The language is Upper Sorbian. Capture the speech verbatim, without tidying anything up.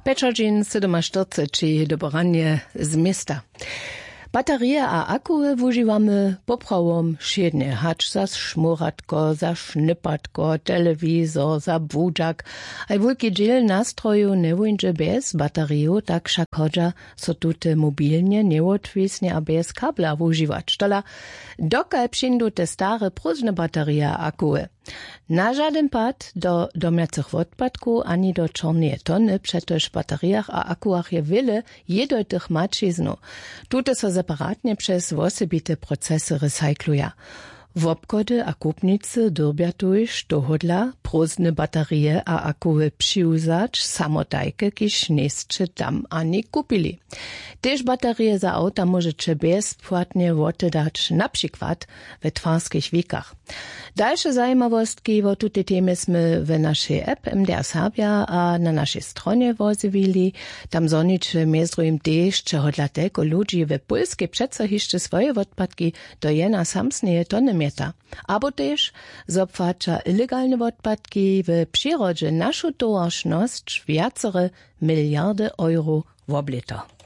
Pjećadźeń sydomaštyrceći do poranje z města. Baterije a akuły wužiwamy poprawom wšědnje, hač za šmóratko, za šnypatko, telewizor, za budźak. Haj wulki dźěl nastrojow njewóńdźe bjez bateriju, tak wšak hodźa so tute mobilnje, njewotwisnje a bjez kabla wužiwać, tola dokal přińdu te stare prózdne baterije a akuły. Na žadyn pad do domjacych wotpadkow ani do čorneje tony, přetož w baterijach a akułach je wjele jědojtych maćiznow. Tute so separatnje přez wosebite procesy recykluja. Wobchody a kupnicy dyrbja tuž tohodla prózdne baterije a akuły přiwzać samotajke, kiž njejsće tam ani kupili. Tež baterije za awta móžeće bjezpłatnje wotedać, na přikład we twarskich wikach. Dalše zajimawostki wo tutej temje smy w našej app mdr serbja a na našej stronje wozjewili. Tam zhoniće mjez druhim tež, čehodla telko ludźi w pólskej přeco hišće swoje wotpadki do jena samsneje tony mjeta, abo tež zo płaća ilegalne wotpadki w přirodźe našu towaršnosć wjacere miliardy euro woblěto.